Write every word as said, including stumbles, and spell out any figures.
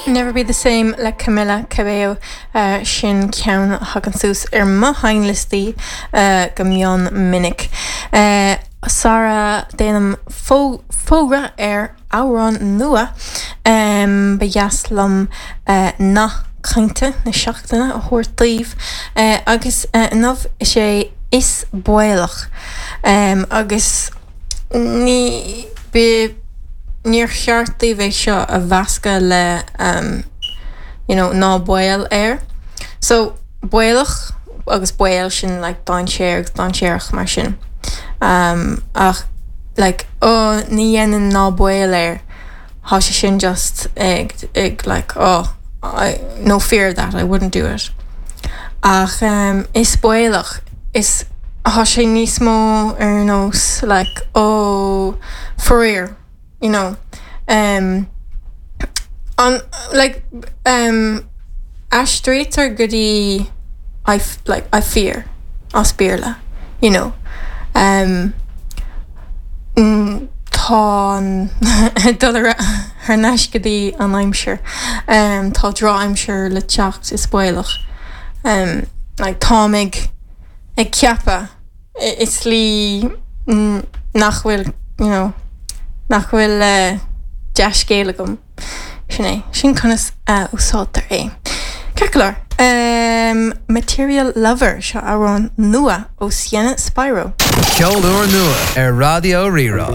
Never be the same le Camila Cabello uh, sin ceann a thagann suas ar mo sheinnliostaí uh, go mion minic. Uh, Sara déanaim fógra ar amhrán nua um, ba dheas liom uh, nath cainte na seachtaine a thabhairt daoibh uh, agus uh, inniu is é is baolach um, agus ní be níor cheart daoibh é seo a mheascadh le um, you know, ná baol air. So baolach agus baol sin like dainséar agus dainséarach mar sin. Um, ach like oh, ní dhéanann ná baol air Tá sé sin just ag ag like oh I no fear of that I wouldn't do it. Ach um, is baolach is tá sé níos mó ar nós like oh faraor you know um, an like um, aistrítear go dtí I like I fear as Béarla you know um, tá dul thar n-ais go dtí an aimsir um, tá drochaimsir le teacht is baolach um, like, táim ag ag ceapadh i slí nach bhfuil you know, nach bhfuil uh, dea-scéal agam sin é sin conas uh, úsáidtear é. Celar um, Material Lover seo amhrán nua ó Sienna Spiro. Ceol úr nua ar Raidió Rí-Rá.